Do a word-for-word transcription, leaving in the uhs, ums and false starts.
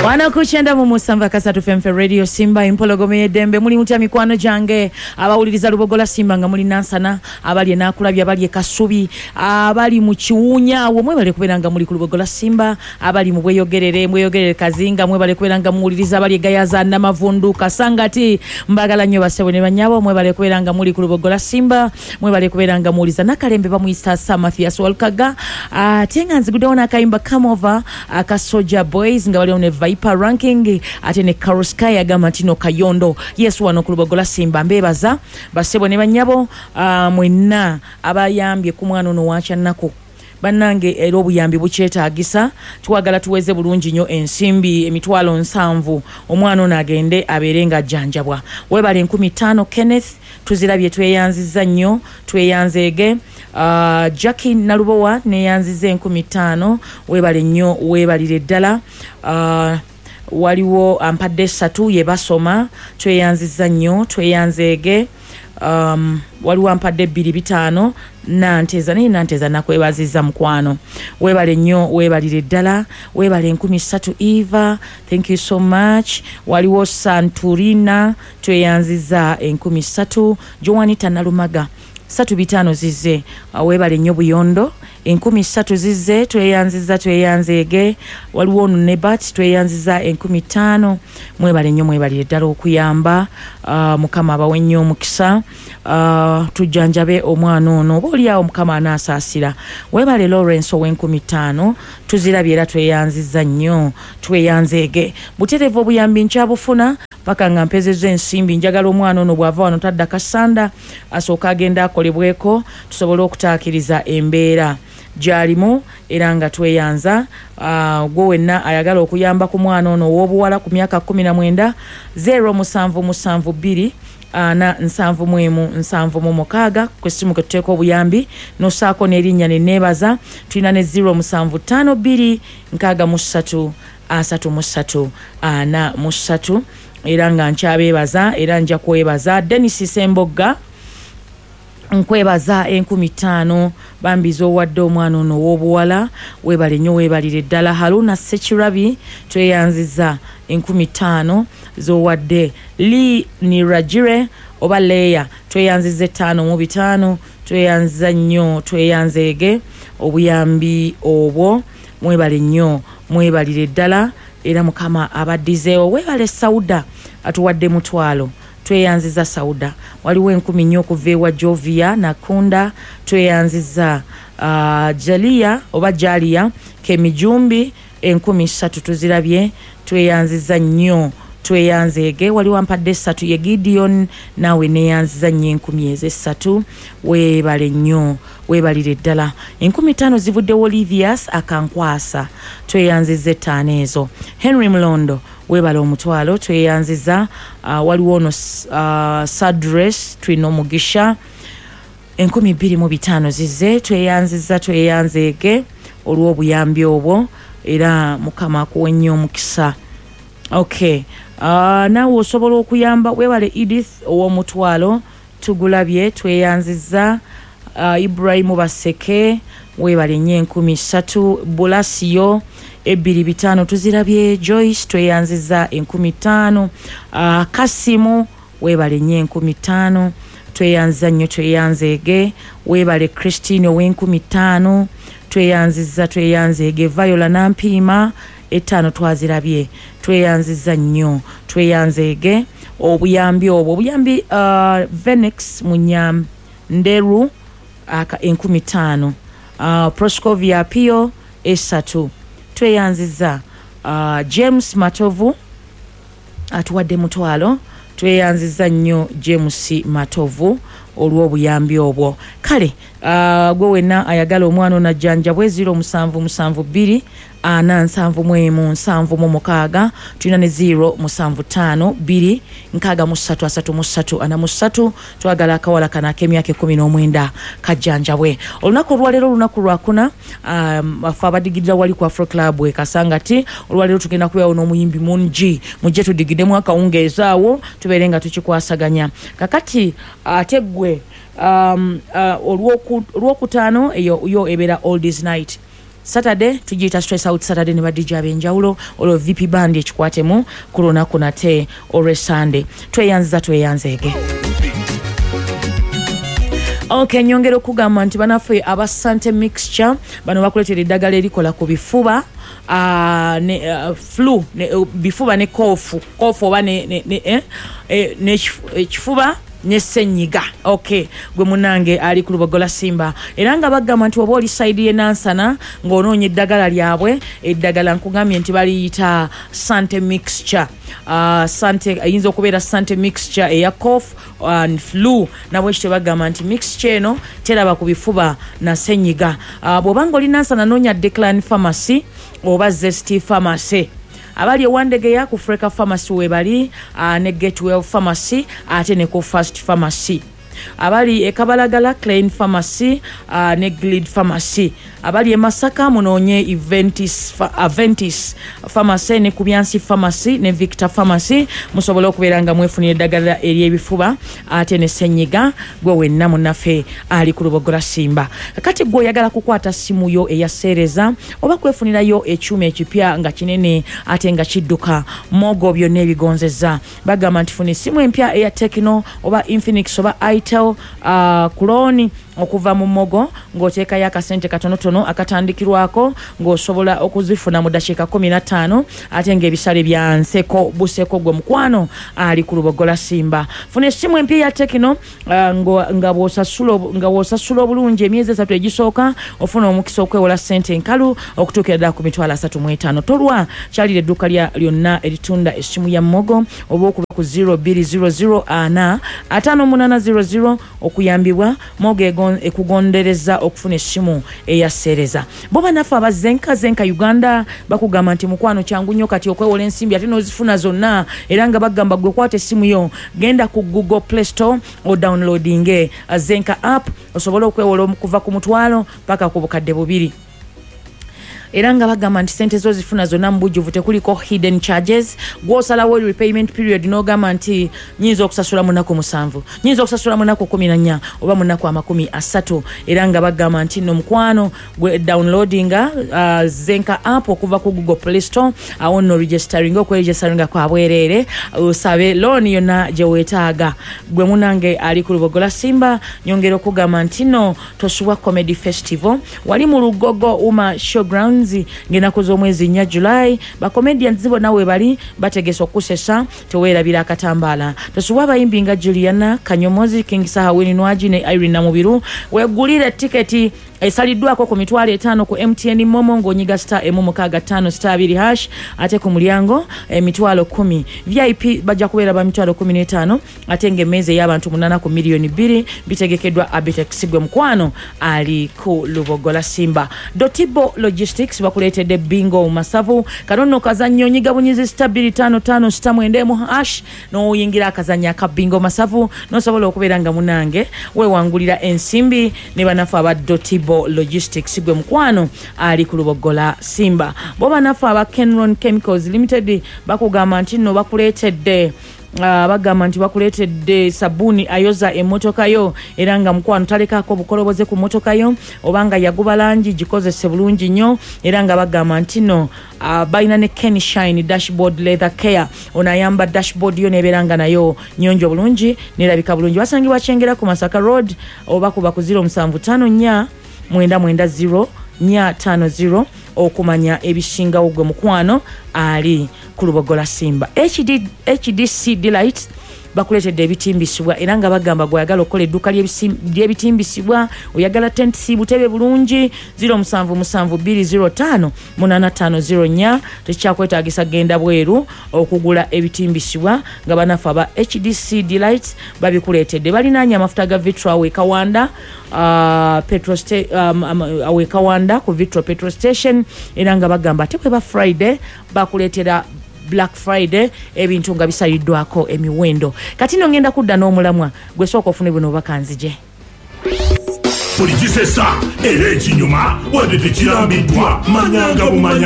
Wano ku kyenda mu musanvu akasatu F M Radio Simba, empologoma y'eddembe. Muli mutya, mikwano gyange abawuliriza Lubogola Simba, nga muli Nansana, abali enakulabye, abali e Kasubi, abali mu Kiwunya awo, mwebale kubeera nga muli ku Lubogola Simba. Abali mu Bweyogerere, Mweyogerere, Kazinga, mwebale kubeera nga muwuliriza. Abali egayaza, Namavundu, Kasangati, mbagala nnyo basebo ne banyabo. Mwebale kubeera nga muli ku Lubogola Simba, mwebale kubeera nga muwuliriza. Nakalembe bamuyita Sir Mathias Walkaga, ate nga nziguddewo n'akayimba "Come Over" aka Soldier Boys nga baliwo ne Viper Ranking, ate ne Carosky agamba nti no Kayondo. Yes, wano ku Lubogola Simba mbeebaza basebo ne banyabo, uh, mwenna abayambye ku mwana ono wakyannaku. Bannange, era obuyambi bukyetaagisa. Twagala tuweze bulungi nnyo ensimbi emitwalo nsanvu, omwana ono agende abeere nga ajjanjabwa. Webale enkumi ttaano, Kenneth, tuzirabye, tweyanziza nnyo, tweyanzeege. uh, Jacki Nalubowa neyanziza enkumi ttaano, webale nnyo, weebalire ddala. uh, waliwo ampadde esatu, ye basoma, tweyanziza nnyo, tweyanzeege. um, waliwo ampadde ebbiri bitaano, Nanteza, naye Nanteza nakwebaziza, mukwano, weebale nnyo, weebalire ddala. Weebale enkumi ssatu, Eva, thank you so much. Waliwo Santurina, tweyanziza enkumi ssatu. Joanita Nalumaga, satu bitaano zizze. uh, weebale nnyo. Buyondo, enkumi ssatu zizze, tweyanziza, tweyanzeege. Waliwo ono Nebat, tweyanziza enkumi ttaano. Mwebale nnyo, mwebalire ddala okuyamba. uh, mukama abawe nnyo omukisa. uh, tujjanjabe omwana ono, oba oliawo Mukama anaasaasira. Weebale Lawrence ow'enkumi ttaano, tuzirabye era tweyanziza nnyo, tweyanzeege. Butereevu obuyambi nkyabufuna paka nga mpezezza ensimbi. Njagala omwana ono bw'ava wano tadda Kasanda, asooka agenda akolebweko, tusobole okutaakiriza embeera gyalimu. Era nga tweyanza uh, gwe wenna ayagala okuyamba ku mwana ono ow'obuwala ku myaka kkumi na mwenda, zero musanvu musanvu bbiri ana nsanvu mu emu nsanvu mu mukaaga ku essimu kwe tuteeka obuyambi, nosaako n'erinnya neneebaza. Tulina ne zero musanvu ttaano bbiri nkaaga mu ssatu asatu mu ssatu ana mu ssatu. Era nga nkyabeebaza, era nja kwebaza Denis Sembogga, nkwebaza enkumi ttaano bambi z'owadde omwana ono ow'obuwala. Weebale nnyo, weebalire ddala. Haruna Sekirabi, tweyanziza enkumi ttaano z'owadde. Li Niragire oba Leeya, tweyanziza ettaano mu bitaano, tweyanziza nnyo, tweyanzeege obuyambi obwo. Mwebale nnyo, mwebalire ddala, era Mukama abaddizeewo. Weebale Sauda, atuwadde mutwalo, tweyanziza Sauda. Waliwo enkumi nnyo okuva ewa Jovia Nakunda, tweyanziza. uh, jalia oba Jalia Kemijumbi, enkumi ssatu tuzirabye, tweyanziza nnyo, tweyanzeege. Waliwo ampadde essatu, ye Gideon, naawe neyanziza nnyo enkumi ezo essatu, weebale nnyo, weebalire ddala. Enkumi ttaano zivuddewo Olivias Akankwasa, tweyanziza ettaano ezo. Henry Mulondo, weebale omutwalo, tweyanziza. uh, waliwo ono uh, Sadres Twina Omugisha, enkumi bbiri mu bitaano zizze, tweyanziza, tweyanzeege olw'obuyambi obwo, era Mukama akuwe nnyo omukisa. Okay, uh, naawe osobola okuyamba. Weebale Edith ow'omutwalo, tugulabye, tweyanziza. uh, ibrahimu Baseke, weebale nnyo enkumi ssatu. Bulasiyo, ebbiri bitaano tuzirabye. Joyce, tweyanziza enkumi ttaano. uh, kasimu, weebale nnyo enkumi ttaano, tweyanziza nnyo, tweyanzeege. Weebale Christine ow'enkumi ttaano, tweyanziza, tweyanzeege. Viola Nampiima, ettaano twazirabye, tweyanziza nnyo, tweyanzeege obuyambi obwo, obuyambi. uh, venex Munyanderu, aka enkumi ttaano. uh, proscovia Pio, esatu, tweyanziza. uh, james Matovu atuwadde mutwalo, tweyanziza nnyo James Matovu olw'obuyambi obwo. Kale uh, gwe wenna ayagala omwana ono ajjanjabwe, zero musanvu musanvu bbiri ana nsanvu mu emu nsanvu mu mukaaga. Tulina ne zero musanvu ttaano bbiri nkaaga mu ssatu asatu mu ssatu ana mu ssatu. Twagala akawala kano ak'emyaka ekkumi n'omwenda kajjanjabwe. Olunaku olwaleero olunaku lwakuna. um, afe abadigidira wali ku Afro Club e Kasangati, olwaleero tugenda kubeerawo n'omuyimbi mungi. Mujje tudigidemu akawungeezi awo, tubeere nga tukikwasaganya. Kakati ate ggwe um, uh, olwokutaano eyo yo ebeera Oldies Night. Saturday tugiyita Stress Out Saturday ne ba D J ab'enjawulo, olwo V P band ekikwatemu ku lunaku nate olwe Sunday. Tweyanziza tweyanzeege. Okay, nyongera okugamba nti banaffe aba Sante Mixture bano bakuleetera eddagala erikola ku bifuba, uh, ne, uh, flu ne, uh, bifuba ne kofu kofu oba ne, ne, ne, eh, eh, ne kifuba ne ssenyiga. Okay, gwe munange ali ku Lubogola Simba, era nga bagamba nti oba oli side ye Nansana ng'onoonya eddagala lyabwe, eddagala nkugambye nti baliyita Sante Mixture. Uh, Sante eyinza okubeera Sante Mixture eya cough and flu, nabwe kityo bagamba nti mixture eno teraba ku bifuba na ssenyiga. Uh, bw'obanga oli Nansana noonya Declan Pharmacy oba Zesty Pharmacy. Abali ewandegeya ku Freka Pharmacy webali, uh, ne Getwell Pharmacy ate ne ku First Pharmacy. Abali e Kabalagala Klein Pharmacy, uh, ne Glid Pharmacy. Abali e Masaka munoonye Eventis, Aventis Pharmacy ne Kubyansi Pharmacy ne Victor Pharmacy, musobole okubeera nga mwefunira eddagala ery'ebifuba ate ne ssenyiga. Gwe wenna munnaffe ali ku Lubogola Simba. Kati gwe oyagala kukwata simu yo eya seereza oba kwefunirayo ekyuma ekipya nga kinene ate nga kidduka, Mogo byonna ebigonzezza. Bagamba nti funa essimu empya eya Tecno oba Infinix oba Itel, uh, kuloni okuva mu Mogo ng'oteekayo akasente katonotono akatandikirwako ng'osobola okuzifuna mu ddakiika kkumi na ttaano ate ng'ebisale bya nseko buseko. Gwe mukwano ali ku Lubogola Simba, funa essimu empya ya Tecno, uh, nga bw'osasula obulungi emyezi esatu egisooka ofuna omukisa okwewola ssente enkalu okutuukira ddala ku mitwalo asatu mu etaano. Tolwa, kyalira edduuka lyonna eritunda essimu ya Mogo oba okuba ku zero bbiri zero zero ana ataano munaana zero zero okuyambibwa. Mogo ekugondereza okufuna essimu eya seereza. Bo bannaffe aba Zenka Zenka Uganda bakugamba nti mukwano kyangu nnyo kati okwewola ensimbi ate n'ozifuna zonna, era nga bagamba gwe kwata essimu yo, genda ku Google Play Store odownloadinge Zenka app osobole okwewola okuva ku mutwalo paka ku bukadde bubiri. Era nga bagamba nti sente zo zifuna zonna mu bujjuvu, tekuliko hidden charges. Gw'osalawo repayment period n'ogamba nti nyinza okusasula mu nnaku musanvu, nyinza okusasula mu nnaku kumi na nnya oba mu nnaku amakumi asatu. Era nga bagamba nti nno mukwano gwe downloadinga uh, Zenka app okuva ku Google Play Store, awo nno registeringa, okweregisteringa kwa bwereere, osabe loan yonna gye weetaaga. Gwe munange ali ku Lubogola Simba, nyongera okugamba nti nno tosubwa Comedy Festival wali mu Lugogo Uma Showground ng'ennaku z'omwezi nnya July. Bakomedians bonna we bali bategese okusesa, teweerabira akatambaala. Tosubwa abayimbi nga Juliana Kanyomozi, King Saha, Winnie Nwagi ne Irene Namubiru. Weegulire tiketi esaliddwako ku mitwalo etaano ku M T N Momo ng'onyiga star emu mukaaga ttaano star abiri hash, ate ku mulyango emitwalo kkumi. V I P bajja kubeera ba mitwalo kkumi n'etaano ate ng'emmeeza ey'abantu munaana ku miliyoni bbiri bitegekeddwa Abitex. Gwe mukwano ali ku Lubogola Simba. Dotibo Logistics bakuleetedde bingo masavu. Kano nno kazannyo, onyiga bunyizi star bbiri ttaano ttaano star mwenda emu hash n'oyingira akazannyo aka bingo masavu n'osobola okubeera nga munange weewangulira ensimbi ne bannaffe aba Dotibo Logistics. Gwe mukwano ali ku Lubogola Simba. Bo bannaffe aba Kenron Chemicals Limited bakugamba nti nno bakuleetedde Uh, bagamba nti bakuleetedde sabbuuni ayoza emmotoka yo, era nga mukwano talekaako bukoloboze ku mmotoka yo, obanga yaguba langi gikozese bulungi nnyo. Era nga bagamba nti no uh, balina ne Ken Shine dashboard leather care, ono ayamba dashboard yo nebeera nga nayo nnyonjo bulungi nerabika bulungi. Basangibwa Kyengera ku Masaka Road oba kuba ku zero musanvu ttaano nnya mwenda mwenda zero nnya ttaano zero okumanya ebisingawo. Gwe mukwano ali ku Lubogola Simba. H D, H D C Delight bakuleetedde ebitimbisibwa, era nga bagamba gw'oyagala okukola edduuka ly'ebitimbisibwa, oyagala tentisi butebe bulungi, zero musanvu musanvu bbiri zero ttaano munaana ttaano zero nnya. Tekikyakwetaagisa genda bweru okugula ebitimbisibwa nga bannaffe aba H D C Delight babikuleetedde. Balinaanye amafuta ga Vitro awo e Kawanda, uh, petrol sta- um, um, awo e Kawanda ku Vitro petrol station, era nga bagamba ate bweba Friday bakuleetera Black Friday, ebintu nga bisaliddwako emiwendo. Kati nno ngenda kudda n'omulamwa gwe sooka ofune buno oba kanzije. Buli kisesa era ekinyuma wadde tekirambiddwa, manyanga bumanya.